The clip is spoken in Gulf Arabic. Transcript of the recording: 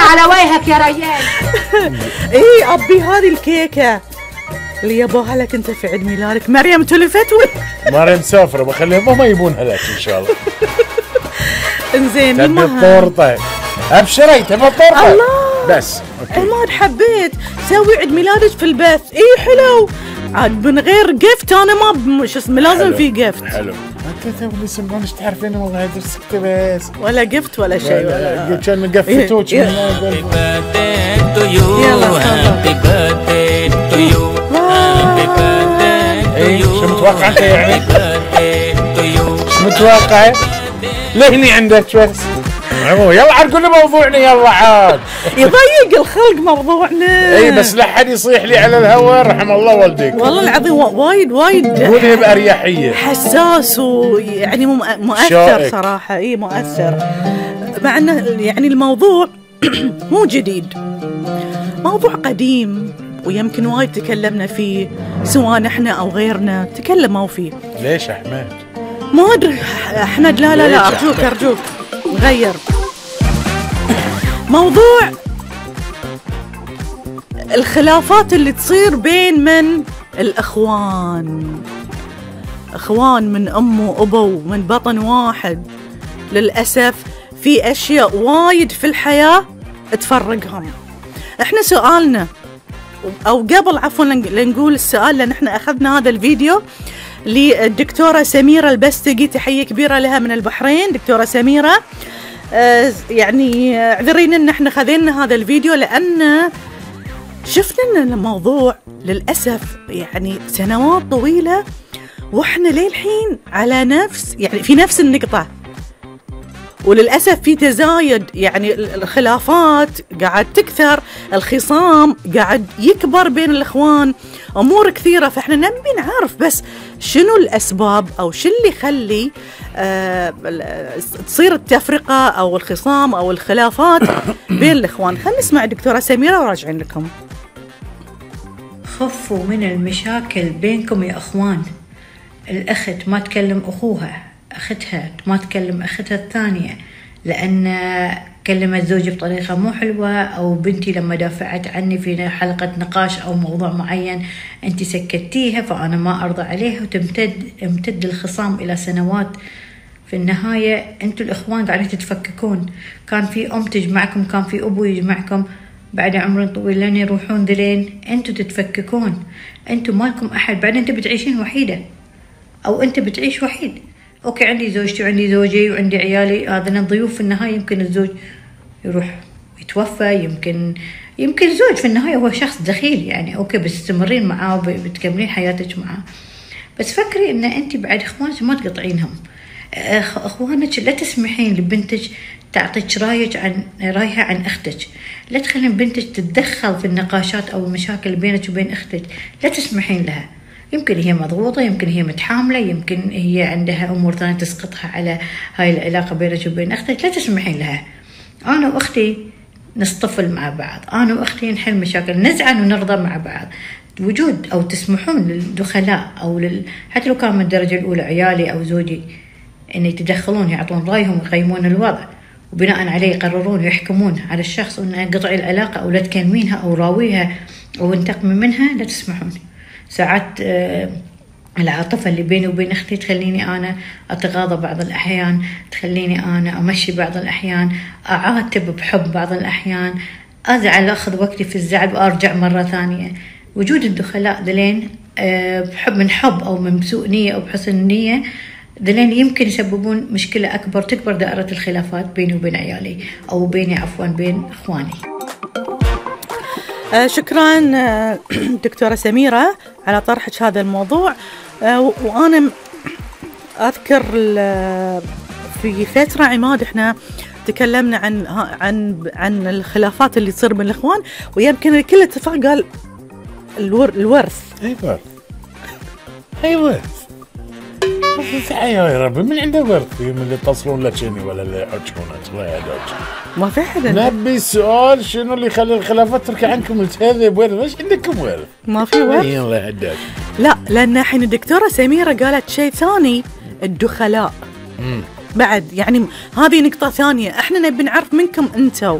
على وجهك يا ريان. ايه ابي هذه الكيكه اللي يبوها لك انت في عيد ميلادك. مريم تلفت مريم مسافره، بخليهم هم يبونها لك ان شاء الله. انزين تبي الطورطه؟ ابشري تبي الطورطه؟ الله بس عماد حبيت سوي عيد ميلادك في البث. اي حلو عاد من غير جفت. انا ما شو اسمه لازم في جفت. حلو انت تو اللي سمعونش تعرفين والله هذا سكتي بس ولا جفت ولا شيء ولا كان مقفتوك. يلا شو متوقع انت يعني؟ شو متوقع؟ لهني عندك بس. يلا عاد قولي موضوعنا يلا عاد. يضيق الخلق موضوعنا. اي بس لا حد يصيح لي على الهواء رحم الله والديك. والله العظيم وايد قولي بأريحية. حساس ويعني مؤثر شائك. صراحة اي مؤثر. مع انه يعني الموضوع مو جديد، موضوع قديم ويمكن وايد تكلمنا فيه سواء نحن او غيرنا تكلموا فيه. ليش احمد؟ ما ادري احمد. لا ارجوك غير موضوع الخلافات اللي تصير بين من الاخوان من ام وابو من بطن واحد. للاسف في اشياء وايد في الحياه تفرقهم. احنا سؤالنا او قبل عفوا لنقول السؤال، لان احنا اخذنا هذا الفيديو للدكتورة سميرة البستقي، تحية كبيرة لها من البحرين. دكتورة سميرة يعني اعذرينا ان احنا خذينا هذا الفيديو لان شفنا ان الموضوع للأسف يعني سنوات طويلة واحنا للحين على في نفس النقطة، وللأسف في تزايد. يعني الخلافات قاعد تكثر، الخصام قاعد يكبر بين الإخوان، أمور كثيرة. فإحنا نبي نعرف بس شنو الأسباب أو شو اللي يخلي تصير التفرقة أو الخصام أو الخلافات بين الإخوان. خلينا نسمع دكتورة سميرة وراجعين لكم. خفوا من المشاكل بينكم يا أخوان. الأخت ما تكلم أخوها، أختها ما تكلم أختها الثانية لأن كلمت زوجي بطريقة مو حلوة، أو بنتي لما دافعت عني في حلقة نقاش أو موضوع معين أنت سكتيها فأنا ما أرضى عليها، وتمتد الخصام إلى سنوات. في النهاية أنتوا الإخوان قاعدين تتفككون. كان في أم تجمعكم، كان في أبو يجمعكم، بعد عمر طويل لين يروحون ذلين أنتوا تتفككون. أنتوا مالكم أحد. بعدين أنت بتعيشين وحيدة أو أنت بتعيش وحيد. أوكي عندي زوجتي وعندي زوجي وعندي عيالي، هذا ضيوف. في النهاية يمكن الزوج يروح يتوفى، يمكن الزوج في النهاية هو شخص دخيل يعني. أوكي بتستمرين معاه وبتكملين حياتك معاه، بس فكري إن أنت بعد إخوانك ما تقطعينهم. إخوانك لا تسمحين لبنتك تعطيك رايها عن أختك. لا تخلين بنتك تتدخل في النقاشات أو المشاكل بينك وبين أختك، لا تسمحين لها. يمكن هي مضغوطة، يمكن هي متحاملة، يمكن هي عندها أمور ثانية تسقطها على هاي العلاقة بينك وبين أختك. لا تسمحين لها. أنا وأختي نصطفل مع بعض، أنا وأختي نحل مشاكل، نزعل ونرضى مع بعض. وجود أو تسمحون للدخلاء أو حتى لو كان من الدرجة الأولى عيالي أو زوجي إن يتدخلون يعطون رأيهم ويقيمون الوضع، وبناء عليه يقررون ويحكمون على الشخص أن قطع العلاقة أو لا تكلمينها أو راويها أو انتقمي منها. لا تسمحون. ساعات العاطفة اللي بيني وبين أختي تخليني أنا أتغاضى بعض الأحيان، تخليني أنا أمشي بعض الأحيان، أعاتب بحب بعض الأحيان، أزعل أخذ وقتي في الزعل وأرجع مرة ثانية. وجود الدخلاء ذلين من حب أو من سوء نية أو بحسن نية ذلين يمكن يسببون مشكلة أكبر، تكبر دائرة الخلافات بيني وبين عيالي أو بيني بين إخواني. شكرا دكتورة سميرة على طرحك هذا الموضوع. وأنا أذكر في فترة عماد إحنا تكلمنا عن الخلافات اللي تصير بين الإخوان، ويمكن الكل اتفق قال الورث. أي ورث يا ربي من عنده ورث؟ من اللي يتصلون لك ولا اللي يحجونك الله يهداك. ما في حدا. نبي السؤال شنو اللي يخلي الخلافات تركي عنكم التهذب ورث؟ ليش عندكم ورث؟ ما في ورث. الله يهداك. لا لأن الحين الدكتورة سميرة قالت شيء ثاني، الدخلاء. بعد يعني هذه نقطة ثانية. احنا نبي نعرف منكم انتو